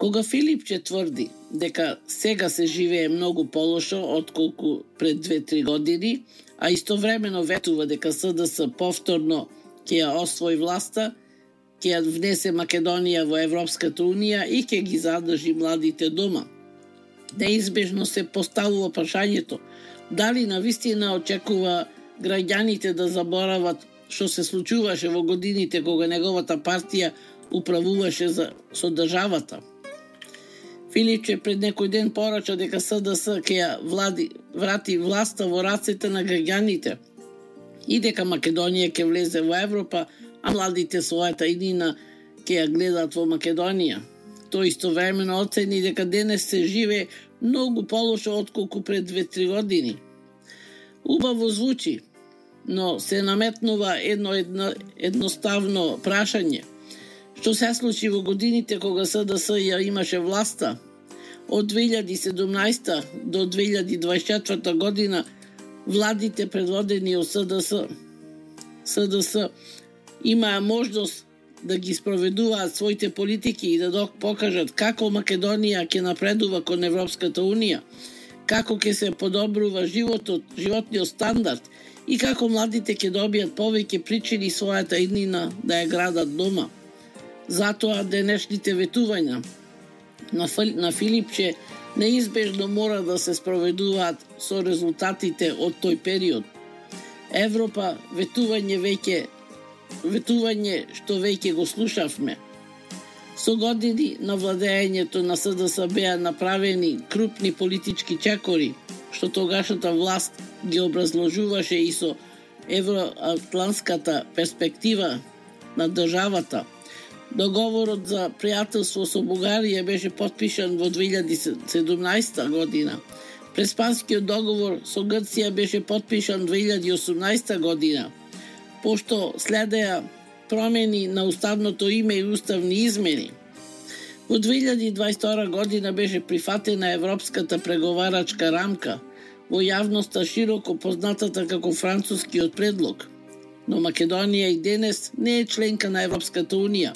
Кога Филипче тврди дека сега се живее многу полошо отколку пред 2-3 години, а истовремено ветува дека СДС повторно ќе ја освои власта, ќе ја внесе Македонија во Европската унија и ќе ги задржи младите дома. Неизбежно се поставува прашањето дали навистина очекува граѓаните да заборават што се случуваше во годините кога неговата партија управуваше со државата. Филипче пред некој ден порача дека СДС ќе ја врати власта во рацете на граѓаните и дека Македонија ќе влезе во Европа, а младите својата иднина ќе ја гледаат во Македонија. Тој истовремено оцени дека денес се живее многу полошо отколку пред 2-3 години. Убаво звучи, но се наметнува едноставно прашање. Што се случи во годините кога СДС ја имаше власта? Од 2017 до 2024 година владите предводени од СДС имаа можност да ги спроведуваат своите политики и да покажат како Македонија ќе напредува кон Европската унија, како ќе се подобрува животниот стандард и како младите ќе добијат повеќе причини својата иднина да ја градат дома. Затоа денешните ветувања на Филипче неизбежно мора да се спроведуваат со резултатите од тој период. Европа ветување што веќе го слушавме. Со години на владењето на СДС беа направени крупни политички чекори, што тогашната власт ги образложуваше и со евроатлантската перспектива на државата. Договорот за пријателство со Бугарија беше потпишан во 2017 година. Преспанскиот договор со Грција беше потпишан 2018 година. Пошто следеа промени на уставното име и уставни измени. Во 2022 година беше прифатена Европската преговарачка рамка, во јавноста широко познатата како францускиот предлог. Но Македонија и денес не е членка на Европската унија.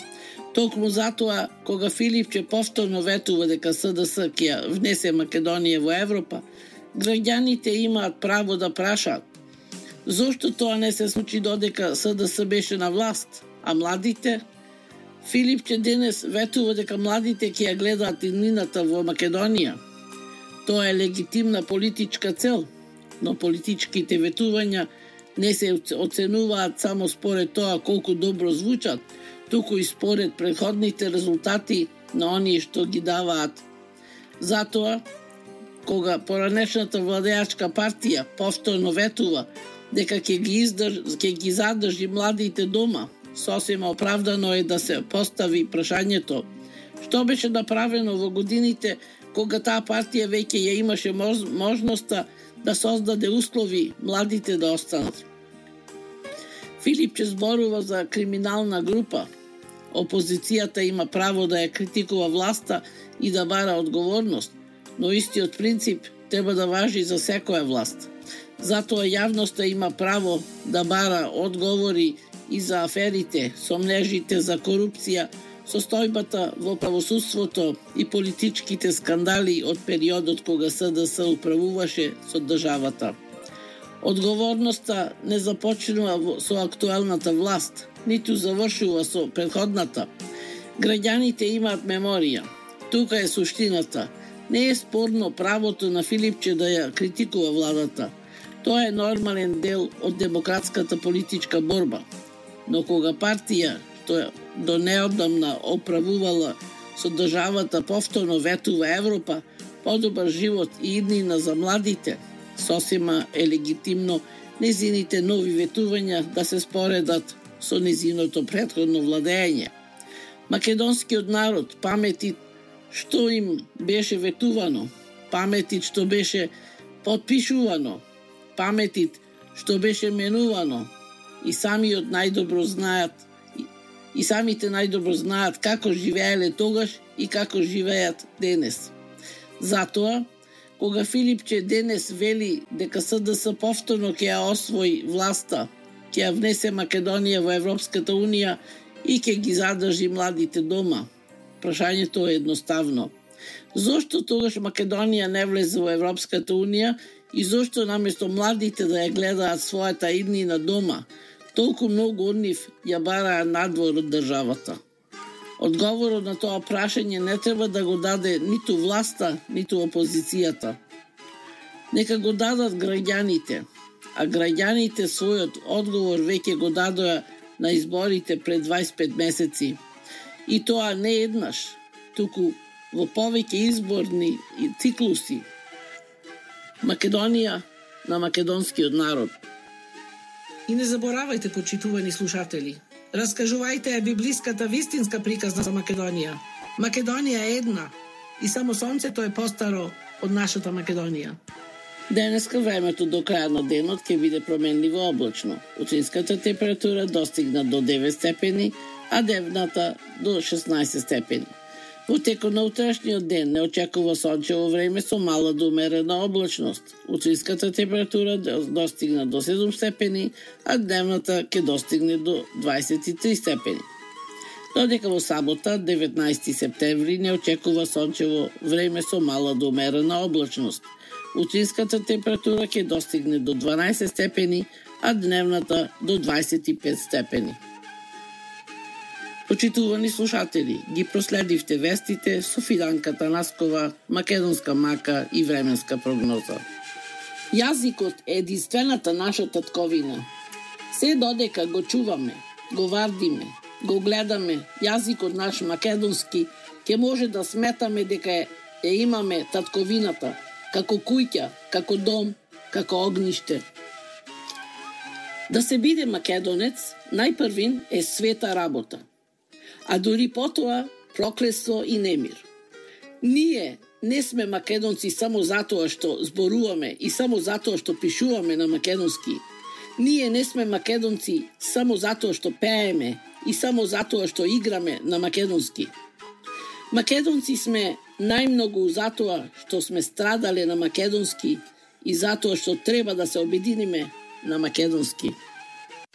Токму затоа, кога Филипче повторно ветува дека СДС ќе ја внесе Македонија во Европа, граѓаните имаат право да прашаат зошто тоа не се случи додека СДС беше на власт, а младите? Филипче денес ветува дека младите ќе ја гледаат иднината во Македонија. Тоа е легитимна политичка цел, но политичките ветувања не се оценуваат само според тоа колку добро звучат, туку и според претходните резултати на оние што ги даваат. Затоа, кога поранешната владеачка партија повторно ветува дека ќе ги задржи младите дома, сосема оправдано е да се постави прашањето што беше направено во годините кога таа партија веќе ја имаше можноста да создаде услови младите да останат. Филипче зборува за криминална група. Опозицијата има право да ја критикува власта и да бара одговорност, но истиот принцип треба да важи за секоја власт. Затоа јавноста има право да бара одговори и за аферите, сомнежите за корупција, состојбата во правосудството и политичките скандали од периодот кога СДС управуваше со државата. Одговорноста не започнува со актуелната власт, ниту завршува со претходната. Граѓаните имаат меморија. Тука е суштината. Не е спорно правото на Филипче да ја критикува владата. Тоа е нормален дел од демократската политичка борба. Но кога партија, што до неодамна оправувала со државата, повторно ветува Европа, подобар живот и иднина за младите, сосема е легитимно незините нови ветувања да се споредат со незиното претходно владење. Македонскиот народ паметит што им беше ветувано, паметит што беше потпишувано, паметит што беше менувано и самите најдобро знаат како живееле тогаш и како живеат денес. Затоа, кога Филипче денес вели дека СДС повторно ќе ја освои власта, ќе ја внесе Македонија во Европската унија и ќе ги задржи младите дома, Прашањето е едноставно. Зошто тогаш Македонија не влезе во Европската Унија и зошто наместо младите да ја гледаат својата иднина дома, толку многу од нив ја бараа надвор од државата? Одговорот на тоа прашање не треба да го даде ниту власта, ниту опозицијата. Нека го дадат граѓаните, а граѓаните својот одговор веќе го дадоа на изборите пред 25 месеци. И тоа не еднаш, туку во повеќе изборни циклуси. Македонија на македонскиот народ. И не заборавајте, почитувани слушатели, раскажувајте ја библиската вистинска приказна за Македонија. Македонија е една и само сонцето е постаро од нашата Македонија. Денеска времето до крај на денот ќе биде променливо облачно. Утрешната температура достигна до 9 степени, а дневната до 16 степени. Во текот на утрешниот ден не очекува сончево време со мала до умерена облачност. Утрешната температура достигна до 7 степени, а дневната ќе достигне до 23 степени. Додека во сабота, 19 септември, не очекува сончево време со мала до умерена облачност. Утрешната температура ќе достигне до 12 степени, а дневната до 25 степени. Почитувани слушатели, ги проследивте вестите со Фиданка Танаскова, македонска мака и временска прогноза. Јазикот е единствената наша татковина. Се додека го чуваме, го вардиме, го гледаме, јазикот наш македонски, ќе може да сметаме дека ја имаме татковината, како куќа, како дом, како огниште. Да се биде македонец, најпрвин е света работа, а дури потоа проклество и немир. Ние не сме македонци само затоа што зборуваме и само затоа што пишуваме на македонски. Ние не сме македонци само затоа што пееме и само затоа што играме на македонски. Македонци сме најмногу затоа што сме страдале на македонски и затоа што треба да се обединиме на македонски.